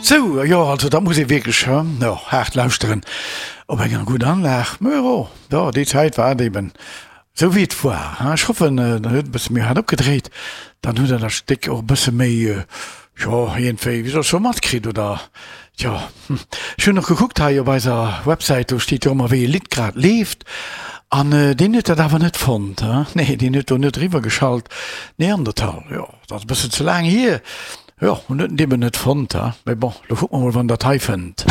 Sou, jo, also dat muss ee wierklech, jo, haart lauschteren op enger gudder Anlag. Mä jo, jo, déi Zäit war et eben esou wéi et war. Ech hoffen, der huet e bësse méi haart opgedréit, dann hutt der dat Stéck och e bësse méi, jo, iergendwéi, wéi soll ech soen, matkritt oder, jo. Ech hunn och gekuckt hei op eiser Websäit, do steet jo ëmmer wéi e Lidd grad leeft an deen huet dat awer net fonnt, nee, deen huet do net eriwwergeschalt, Neandertal, jo, dat ass e bëssen ze laang hier. Jo, hun huet en eben net fonnt, he? Mee bon, lo kucke mer mol, wann dat hei fënnt.